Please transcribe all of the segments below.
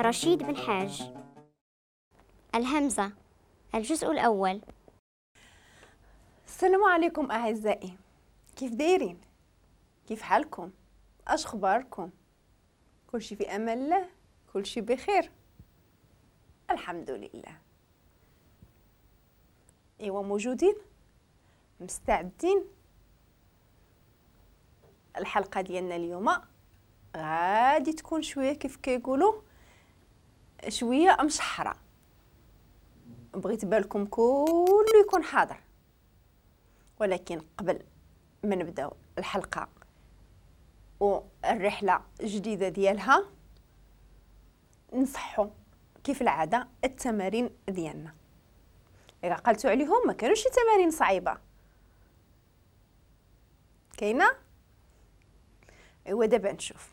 رشيد بن حاج. الهمزة، الجزء الأول. السلام عليكم أعزائي، كيف دايرين؟ كيف حالكم؟ اش اخباركم؟ كلشي في امان الله، كلشي بخير الحمد لله. ايوا موجودين مستعدين؟ الحلقة ديالنا اليوم غادي تكون شوية كيف كيقولوا شوية مشحره، بغيت بالكم كله يكون حاضر. ولكن قبل ما نبداو الحلقة والرحلة الجديدة ديالها نصحوا كيف العادة التمارين ديالنا. الا عقلتوا عليهم ما كانوش شي تمارين صعيبة كاينه. ايوا دابا نشوف،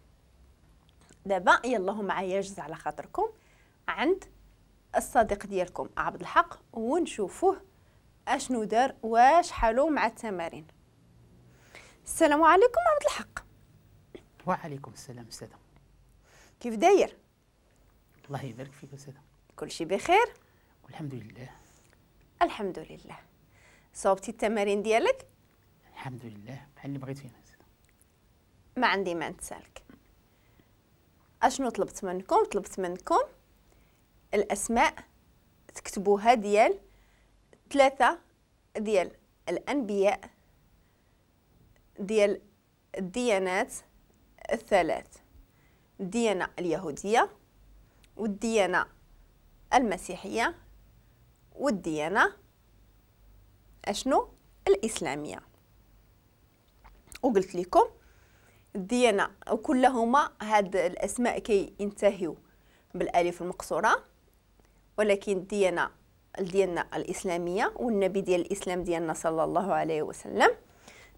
دابا يلا معايا جز على خاطركم عند الصديق ديالكم عبد الحق ونشوفوه اشنو دار واش حالو مع التمارين. السلام عليكم عبد الحق. وعليكم السلام استاذه. كيف داير؟ الله يبارك فيك استاذه. كلشي بخير والحمد لله. الحمد لله. صوبتي التمارين ديالك؟ الحمد لله بحال اللي بغيتي استاذه. ما عندي ما نتسالك. اشنو طلبت منكم؟ طلبت منكم الاسماء تكتبوها ديال 3 ديال الانبياء ديال الديانات الثلاث، الديانة اليهودية والديانة المسيحية والديانة اشنو الإسلامية. وقلت لكم الديانة وكلهما هاد الأسماء كي ينتهيو بالألف المقصورة، ولكن الديانة الإسلامية والنبي ديال الإسلام ديالنا صلى الله عليه وسلم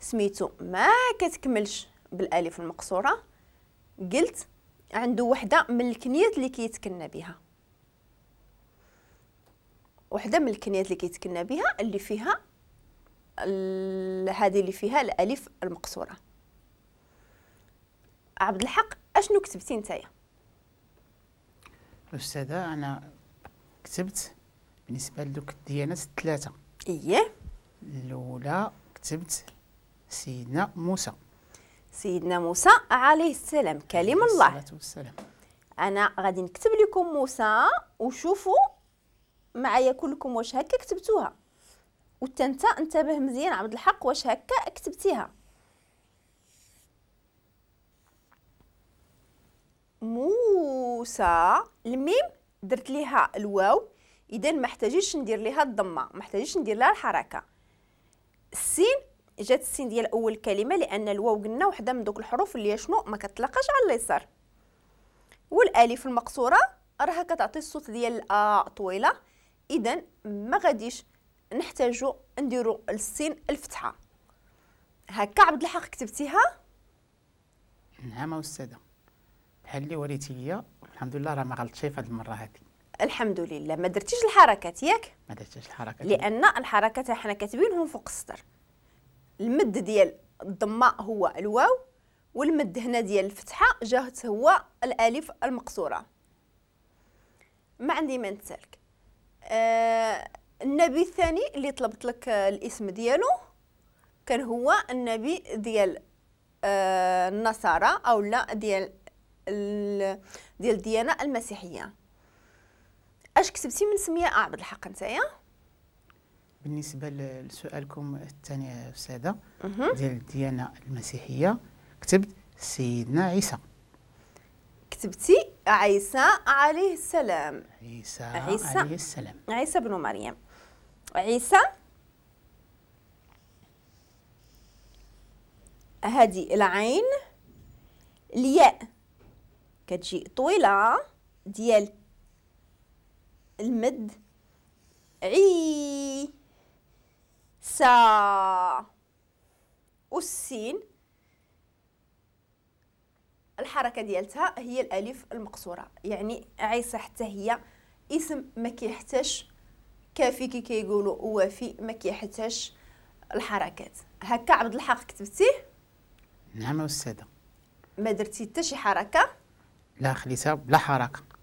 سميتو ما كتكملش بالألف المقصورة. قلت عنده وحدة من الكنيات اللي كيتكنى بها، وحدة من الكنيات اللي كيتكنى بها اللي فيها هذه اللي فيها الألف المقصورة. عبد الحق اشنو كتبتي نتايا؟ أستاذة أنا كتبت بالنسبة لدوك الديانات الثلاثة. إيه. الأولى كتبت سيدنا موسى. سيدنا موسى عليه السلام كلم الله. الصلاة والسلام. أنا غادي نكتب لكم موسى وشوفوا معايا كلكم واش هكا كتبتوها، وانت انتبه مزيان عبد الحق واش هكا كتبتيها. موسى الميم درت ليها الواو، اذا ما احتاجيش ندير ليها الضمة، ما احتاجيش ندير لها الحركة. السين جات السين ديال اول كلمة لان الواو قلنا وحده من دوك الحروف اللي شنو ما كتلاقاش على اليسار. والالف المقصورة راها كتعطي الصوت ديال الأ طويلة، اذا ما غاديش نحتاجو نديرو السين الفتحة. هكا عبد الحق كتبتيها؟ نعم استاذه، بحال اللي وريتي ليا الحمد لله راه ما غلطتش في هذه المرة هذه. الحمد لله. ما درتيش الحركات ياك؟ ما درتيش الحركات لان الحركات حنا كاتبينهم فوق السطر. المد ديال الضمة هو الواو، والمد هنا ديال الفتحة جات هو الالف المقصورة. ما عندي ما نتسالك. النبي الثاني اللي طلبت لك الاسم ديالو كان هو النبي ديال النصارى او لا ديال ديال الديانة المسيحية. اش كتبتي من سميه عبد الحق نتايا؟ بالنسبة لسؤالكم الثاني استاذه ديال الديانة المسيحية كتبت سيدنا عيسى. كتبتي عيسى عليه السلام. عيسى عليه السلام، عيسى بن مريم. عيسى هذه العين، الياء كتجي طويلة ديال المد، عي سا، والسين الحركة ديالتها هي الالف المقصورة. يعني عيسى حتى هي اسم ما كيحتاج كافي كي كيقولوا وافي، ما كيحتاج الحركات. هكا عبد الحق كتبتيه؟ نعم استاذه. ما درتي حتى شي حركة؟ لا، خليتها بلا حركة.